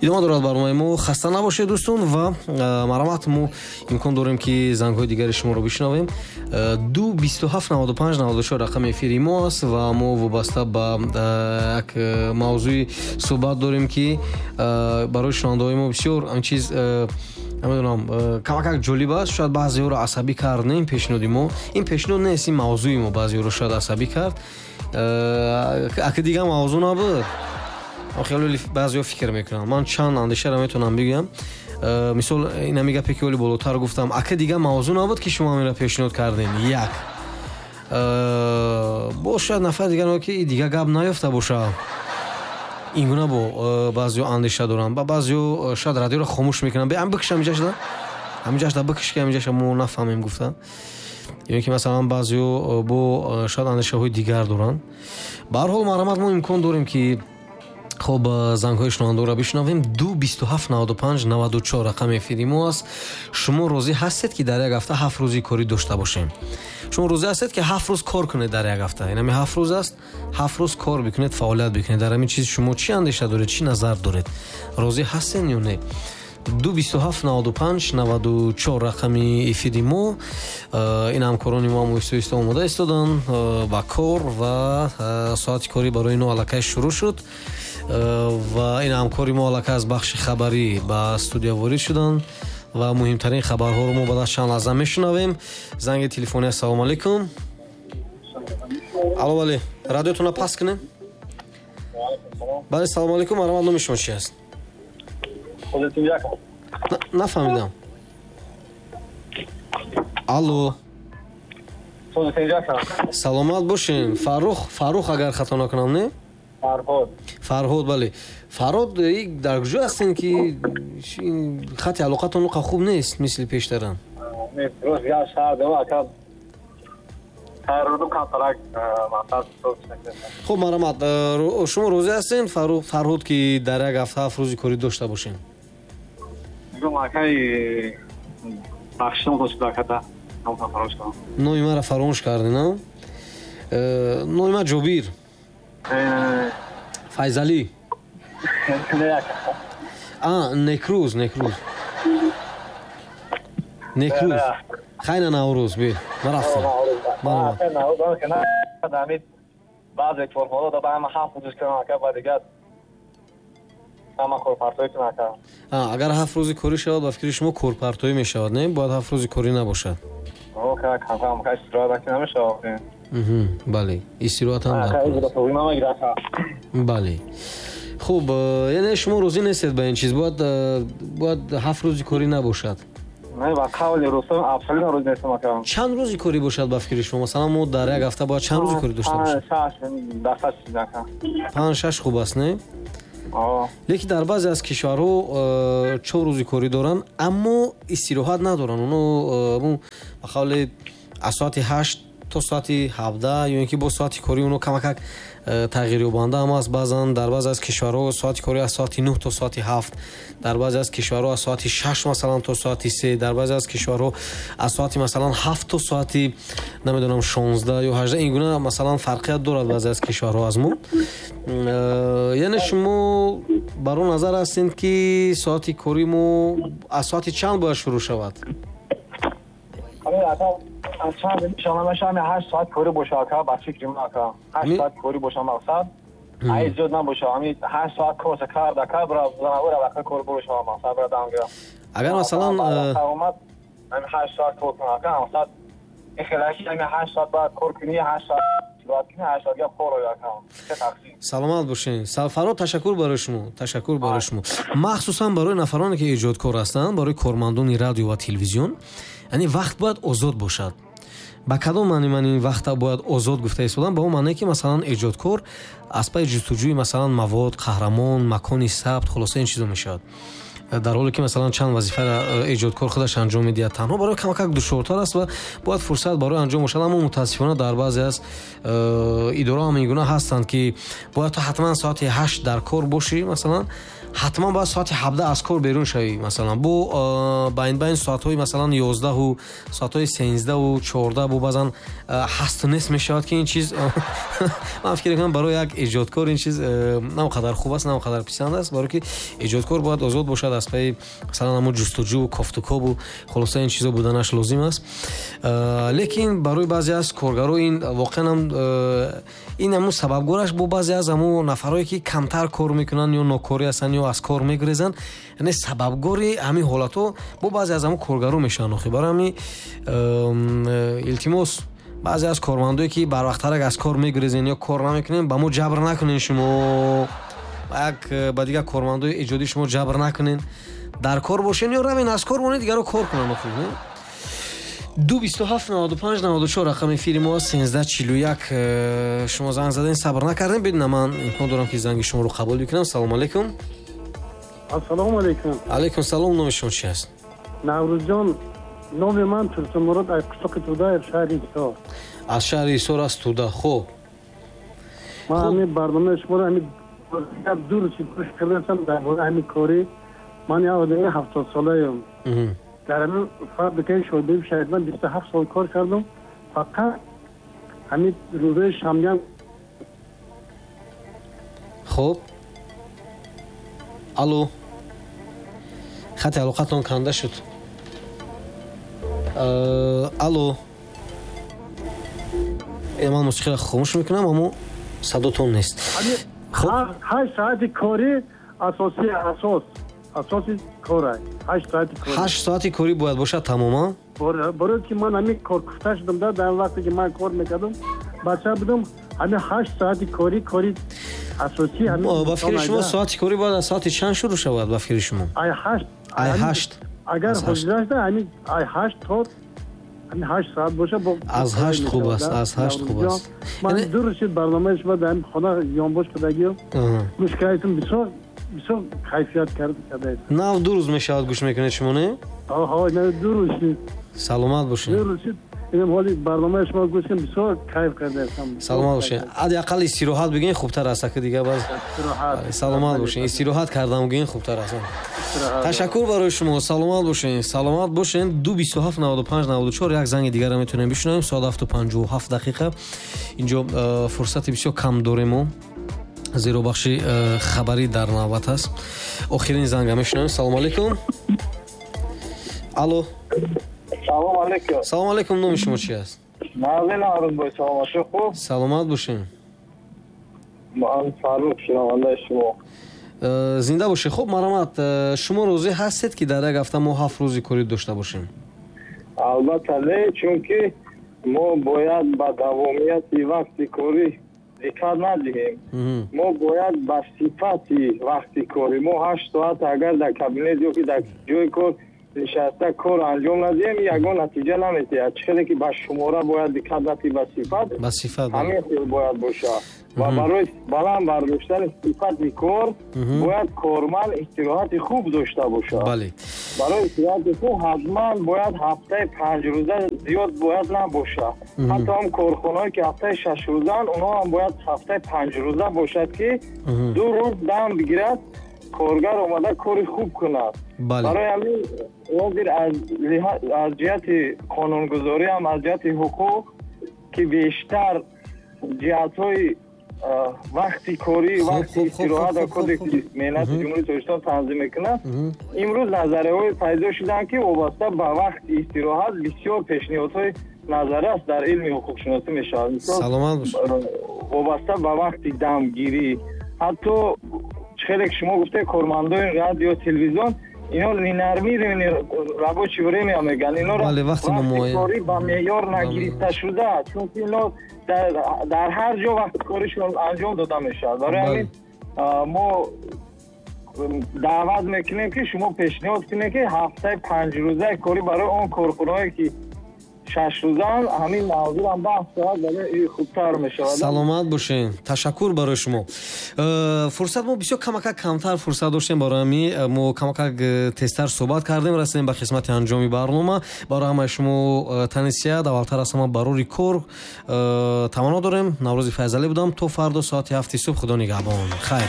Идома дорад барномаи мо. Хаста набошед, дӯстон, ва марҳамат, мо имкон дорем, ки зангҳои дигари шуморо бишнавем. 2 27 95 94 рақами эфири мо аст ва мо вобаста ба як мавзӯи суҳбат дорем, ки барои шунавандаҳои мо бисёр ҳамин чиз, намедонам, камакак ҷолиб аст. Шояд баъзеҳоро асабӣ кард, не, ин пешниҳоди мо, ин пешниҳод нест, ин мавзӯи мо баъзеҳоро шояд асабӣ кард. Аки дигар мавзӯъ набуд, хеле баъзеҳо фикр мекунанд. Ман чанд андешаро метавонам бигӯям. Мисол, инами гапе, ки оли болотар гуфтам: ака, дигар мавзӯъ набуд, ки шумо ҳаминро пешниҳод кардем? Як боз шояд нафар дигар, ки дигар гап наёфта бошад, ин гуна бо баъзеҳо андеша доранд. Ба баъзеҳо шояд радиоро хомӯш мекунанд, бе бикш, ҳамиҷашда, ҳамиҷашда бикш, ки ҳамиҷаша мо нафаҳмем, гуфта. Ё ки масалан баъзеҳо бо шояд андешаҳои дигар доранд. Ба ҳар ҳол, марҳамат, мо имкон дорем, ки хоб, зангҳои шунавандаро бишунавем. 2 27 95 94 рақами эфири мо аст. Шумо розӣ ҳастед, ки дар як ҳафта 7 рӯзи корӣ дошта бошем? Шумо розӣ ҳастед, ки 7 рӯз кор кунед дар як ҳафта? Инами 7 рӯз аст, 7 рӯз кор бикунед, фаъолият бикунед. Дар ҳамин чиз шумо чӣ андеша доред, чӣ назар доред? Розӣ ҳастед ё не? 2 27 95 94 рақами эфири мо. Ин ҳамкорони мо ҳам оҳиста оҳиста омода истоданд ба кор ва соати корӣ барои ино аллакай шурӯъ шуд. Ва ин ҳамкори мо аллакай аз бахши хабарӣ ба студия ворид шуданд ва муҳимтарин хабарҳоро мо баъд аз чанд лаҳза мешунавем. Занги телефонӣ. Ассалому алайкум. Алло, бале, радиотонро паст кунем. Бале, салому алайкум, марҳамат, номи шумо чи аст? Нафаҳмидам. Алло, саломат бошем. Фаррух, Фаррух, агар хато накунам, не? Фарҳод. Фарҳод, бале. Фарҳод, дар куҷо ҳастем, ки хати алоқатон қа хуб нест, мисли пештара? Рост, шаҳр дем, ака, тайёрудум камтарак мақсад. Хуб, марҳамат, шумо розӣ ҳастем, Фарҳод, ки дар як ҳафта 7 рӯзи корӣ дошта бошем? Мегӯм, акай, бахшидам дошт, акада. Номи маро фаромӯш кардӣ, на? Номи ман Ҷобир Файзалӣ. А, Некрӯз, Некрӯз, Некрӯз. Хайна, Наврӯз би, ман рафтам. Баъзе корҳоро да ба ҳама 7 рӯз кунам, ака, ба дигар ҳама корпартоӣ кунам, ака. Агар 7 рӯзи корӣ шавад, ба фикри шумо, корпартоӣ мешавад, не? Бояд 7 рӯзи корӣ набошад. Истироҳат намешавад. Бале, истироҳатам. Бале, хуб, яъне шумо розӣ нестед ба ин чиз, бояд 7 рӯзи корӣ набошад. Ба қавли рустам, абсолютно розӣ нестам, ака. Чанд рӯзи корӣ бошад, ба фикри шумо? Масалан, мо дар як ҳафта бояд чанд рӯзи корӣ дошта бошем? Панҷ, шаш хуб аст, не? Лекин дар баъзе аз кишварҳо 4 рӯзи корӣ доранд, аммо истироҳат надоранд. Оно ба қавли аз соати 8 то соати 17 ё ин ки бо соати корӣ оно камакак тағйирёбанда ҳам аст. Баъзан дар баъзе аз кишварҳо соати корӣ аз соати 9 то соати 7, дар баъзе аз кишварҳо аз соати 6, масалан, то соати 3, дар баъзе аз кишварҳо аз соати, масалан, 7 то соати, намедонам, 16 ё 18. Ин гуна, масалан, фарқият дорад баъзе аз кишварҳо аз мо. Яъне шумо бар он назар ҳастед, ки соати корӣ мо аз соати чанд бояд шурӯъ шавад? Чанд 8 соат корӣ боша, ака, ба фикри ман, ака, 8 соат корӣ боша, мақсад, ай зиёд набоша, ҳами 8 соат корса кард, ака, бира занавора, ака, кор буроша, мақсад, бира дам гира. Агар масалан омад, ҳами 8 соат кор кун, ака, мақсад, ин хелаки ҳами 8 соат бояд кор кунӣ, 8 соат бояд кунӣ, 8 соат гап кор оя, ака. Саломат бошед, Фарҳод, ташаккур барои шумо, ташаккур барои шумо. Махсусан барои нафароне, ки эҷодкор ҳастанд, барои кормандони радио ва телевизион, яъне вақт бояд озод бошад. Ба кадом маъни ман ин вақта бояд озод гуфта истодам? Ба он маъне, ки, масалан, эҷодкор аз пайи ҷустуҷӯи, масалан, мавод, қаҳрамон, макони сабт, хулоса, ин чизо мешавад, дар ҳоле ки, масалан, чанд вазифаро эҷодкор худаш анҷом медиҳад танҳо, барои камакак душвортар аст ва бояд фурсат барои анҷом бошад. Аммо мутаассифона дар баъзе аз идораҳо ҳам ин гуна ҳастанд, ки бояд ту ҳатман соати 8 дар кор бошӣ, масалан. Ҳатман бояд соати 17 аз кор берун шавӣ, масалан бо байн соатҳои масалан 11 соатҳои 13 14 бо баъзан ҳасту нест мешавад, ки ин чиз ман фикр мекунам барои як эҷодкор ин чиз на он қадар хуб аст, на он қадар писанд аст, барое ки эҷодкор бояд озод бошад аз пайи масалан ҳамон ҷустуҷӯ, кофтукобу хулоса ин чизо буданаш лозим аст. Лекин барои баъзе аз коргаро ин воқеан ҳам ин ҳамун сабабгораш бо баъзе аз ҳамун нафарое ки камтар кор мекунанд ё нокорӣ ҳастанд ё аз кор мегурезанд, яъне сабабгори ҳамин ҳолатҳо бо баъзе аз ҳамун коргаро мешаванд. Охи барои ҳамин илтимос, баъзе аз кормандое ки барвақттарак аз кор мегурезен ё кор намекунен, ба мо ҷабр накунен, шумо як ба дигар кормандои эҷодӣ шумо ҷабр накунен, дар кор бошен ё равен аз кор монед, дигаро кор кунанд. Охи 227 95 94 рақами эфири мо аст, 1341. Шумо занг заден, сабр накардем, бедина ман имкон дорам ки занги шуморо қабул бикунам. Салому алайкум. Ассалому алайкум. Алайкум салом. Номи шумо чи аст? Наврӯзҷон, номи ман Турсунмурод, аз қишлоқи Туда, шаҳри Ҳисор. Аз шаҳри Ҳисор, аз Туда. Хуб, ман ҳамин барномаи шуморо ҳамин ду рӯз гӯш кардам дар бораи ҳамин корӣ. Ман як одами 70 солаем. Дар ҳамин фабрикаи шодиби шаҳидман 27 сол кор кардам. Фақат ҳамин рӯзои шанбеам. Хуб, алло, хати алоқатон канда шуд. Алло, ман мусиқиро хомӯш мекунам, аммо садотон нест. 8 соати корӣ асосӣ, асоси кор 8 соати корӣ. 8 соати корӣ бояд бошад тамоман? Барои ки ман ҳамин коркуфта шудам, дар вақте ки ман кор мекардам, бача будам, ҳамин 8 соати корӣ, кори асосӣ. Ба фикри шумо соати корӣ бояд аз соати чанд шурӯъ шавад? Ба фикри шумо ай 8. Ай 8. Агар ҳозирашда ҳамин ай 8 то ҳамин 8 соат боша. Аз 8 хуб аст, аз 8 хуб аст. Ман ду рӯз шуд барномаи шумо дар ҳамин хона ёнбош кардагиам, гӯш кардам, бисёр бисёр кайфият кардаед. Нав ду рӯз мешавад гӯш мекунед шумо, не? Ҳо, нав ду рӯз шуд. Саломат бошед. Ду рӯз шуд. Инам ҳоли барномаи шумо гӯш кардам, бисёр кайф кардаам. Саломат бошед. Ҳадди ақал истироҳат бигӯед хубтар аст, ки дигар баз. Саломат бошед. Истироҳат кардам бигӯед хубтар аст. Ташаккур барои шумо. Саломат бошед. Саломат бошед. 227 95 94 як занги дигарро метавонем бишунавем. Соат 7:57 дақиқа. Инҷо фурсати бисёр кам дорем мо, зеро бахши хабарӣ дар навбат аст. Охирин занга мешунавем. Салому алайкум. Алло. Салом алейкум. Салом алейкум. Номи шумо чи аст? Мавлин Арузбой. Саломатӣ хуб? Саломат бошед. Ман Фаррух, шунавандаи шумо. Зинда бошед. Хуб, марҳамат, шумо розӣ ҳастед ки дар як ҳафта мо 7 рӯзи корӣ дошта бошем? Албатта не, чунки мо бояд ба давомияти вақти корӣ диққат надиҳем. Мо бояд ба сифати вақти корӣ. Мо 8 соат агар дар кабинет ё ки дар ҷои кор нишаста кор анҷом надиҳем, ягон натиҷа намедиҳад. Чӣ хеле ки ба шумора бояд диққат надиҳӣ, ба сифат, ба сифат ҳамин хел бояд бошад. Ва барои баланд бардоштани сифати кор бояд корманд истироҳати хуб дошта бошад. Бале. Барои истироҳати хуб ҳатман бояд ҳафтаи 5 рӯза зиёд бояд набошад. Ҳатто ҳам корхонаҳое ки ҳафтаи 6 рӯзаанд, онҳо ҳам бояд ҳафтаи 5 рӯза бошад, ки 2 рӯз дам бигирад, коргар омада кори хуб кунад. Барои ҳамин ҳозир аз ҷиҳати қонунгузорӣ ҳам аз ҷиҳати ҳуқуқ, ки бештар ҷиҳатҳои вақти корӣ, вақти истироҳат ва кодекси меҳнати Ҷумҳурии Тоҷикистон танзим мекунад, имрӯз назарияҳое пайдо шуданд, ки вобаста ба вақти истироҳат бисёр пешниҳодҳои назария дар илми ҳуқуқшиносӣ мешавад. Саломат бошед. Вобаста ба вақти дамгирӣ, ҳатто хеле ки шумо гуфте, кормандони радио, телевизион, ино ненормированный рабочий время мегӯянд. Ино вақти корӣ ба меъёр нагирифта шуда, чунки ино дар ҳар ҷо вақти коришон анҷом дода мешавад. Барои ҳамин мо даъват мекунем, ки шумо пешниҳод кунед, ки ҳафтаи 5 рӯзаи корӣ барои он корхонаҳое ки 6 рӯзаанд, ҳамин мавзӯъ баҳс шавад, барои хубтар мешавад. Саломат бошед. Ташаккур барои шумо. Фурсат мо бисёр камакак камтар фурсат доштем, барои ҳамин мо камакак тезтар суҳбат кардем, расидем ба қисмати анҷоми барнома. Барои ҳамаи шумо тани сиҳат, аввалтар аз ҳама барори кор таманно дорем. Наврӯзи Файзалӣ будам. То фардо соати 7 субҳ. Худо нигаҳбон. Хайр.